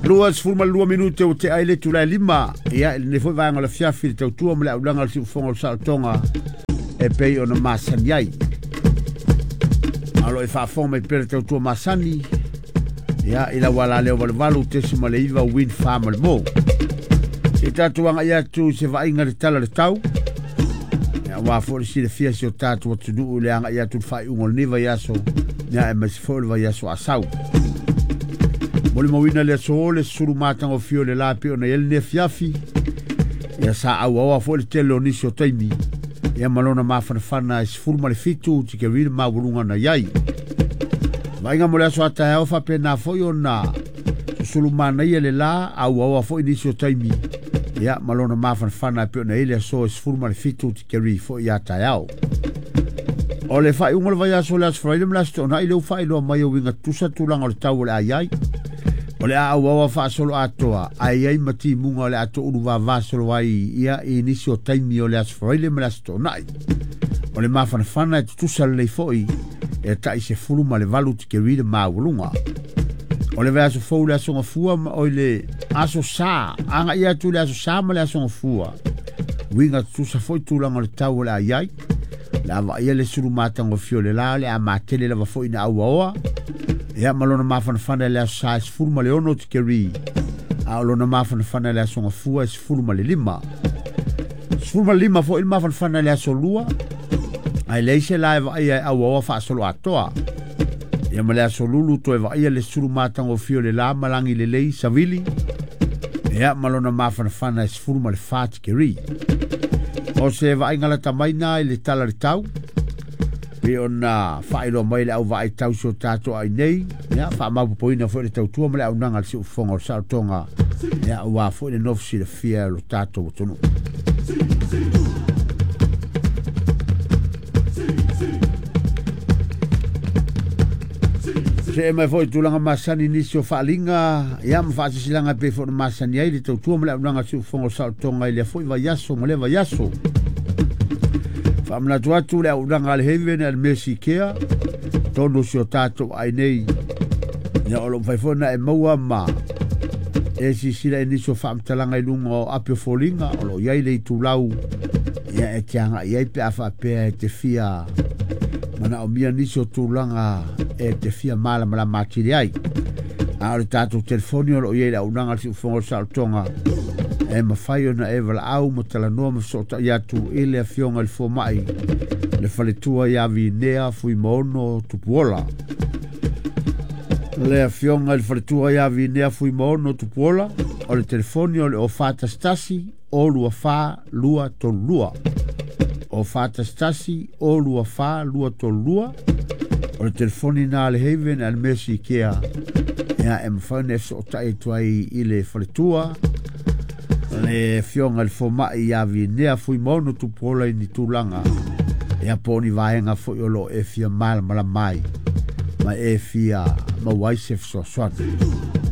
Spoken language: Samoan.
22 minute o te aile tulai lima ia le foi vaega o le fiafi le tautua ma le aulaga o le siufofoga o le saolotoga e pei ona masani ai. Alo e faafofoga mai pea le tautua masani ia i lau alaleo 88.9 Wind Farm o le Mo. Se tatou agai atu se vaaiga le tala le tau. Ia ua foi le silafia si o tatou atunuu le agai atu le faaiuga o lenei vaiaso ia e maise foi le vaiaso a sau. Molimauina le aso le sulu matagofie o le la pe ona i ai lenei afiafi. Ia sa auaoa foi le tele o nisi o taimi. Ia ma lona mafanafana e 17 tikeri le maualuga na i ai. Vaaiga mo le aso a taeao faapena foi ona susulu manaia le la auaoa foi nisi o taimi. Ia ma lona mafanafana e pe ona i ai le aso e 17 tikeri foi ia taeao. O le faaiuga o le vaiaso o le aso Faraile ma le aso Toonai le ua faailoa mai o uiga tutusa tulaga o le tau o le a i ai. O le a auaoa faasolo atoa ae i ai ma timuga o le a toulu vavasolo ai ia i nisi o taimi o le aso Faraile ma le aso Toonai. O le mafanafana e tutusa lelei foi e tai 18 tikeri le maualuga. O le vaiaso fou le aso Gafua ma oi le aso Sa, agai atu le aso Sa ma le aso Gafua. Uiga tutusa foi tulaga o le tau o le a i ai. Le a vaaia le sulu matagofie o le la o le a matele lava foi ina auaoa. Ia ma lona mafanafana i le aso Sa e 16 tikeri. A o lona mafanafana i le aso Gafua e 15. 15 foi le mafanafana i le aso Lua. Ae leai se la e vaaia e auaoa faasolo atoa. Ia ma le aso Lulu toe vaaia le sulu matagofie o le la ma lagi lelei savili. Ia ma lona mafanafana e 14 tikeri. O se vaaiga lata mai na i le tala le tau. Pe ona faailoa mai le au vaai tau si o tatou ai nei. Ia faamaupopoina foi le tautua ma le aunaga le siufofoga o le saolotoga. Ia ua foi le nofo silafia o lo tatou atunuu. Se e mai foi tulaga masani nisi o faaaliga ia ma faasisilaga pei foi ona masani ai le tautua ma le aunaga siufofoga o le saolotoga i lea foi vaiaso ma lea vaiaso. Faamanatu atu le auaunaga a le Haven a le Mercy Care tonu si o tatou ai nei. Ia o lo o mafai foi ona e maua ma e sisila i nisi o faamatalaga i luga o api o foliga o lo o i ai le itulau ia e te agai ai pe a faapea e te fia manaomia nisi o tulaga e te fia malamalama atili ai. A o le tatou telefoni o lo o i ai le auaunaga a le siufofoga o le saolotoga e mafai ona e valaau ma talanoa ma fesootai atu i le afioga i le fomai le faletua ia Vinea Fuimaono Tupuola. Le afioga i le faletua ia Vinea Fuimaono Tupuola o le telefoni o le 0411 024 232. 0411 024 232 o le telefoni na le Haven a le Mercy Care ia e mafai ona e fesootai atu ai i le faletua le afioga i le fomai ia Vinea Fuimaono Tupuola i ni tulaga ia po o ni vaega foi o lo o e fia malamalama ai ma e fia maua ai se fesoasoani.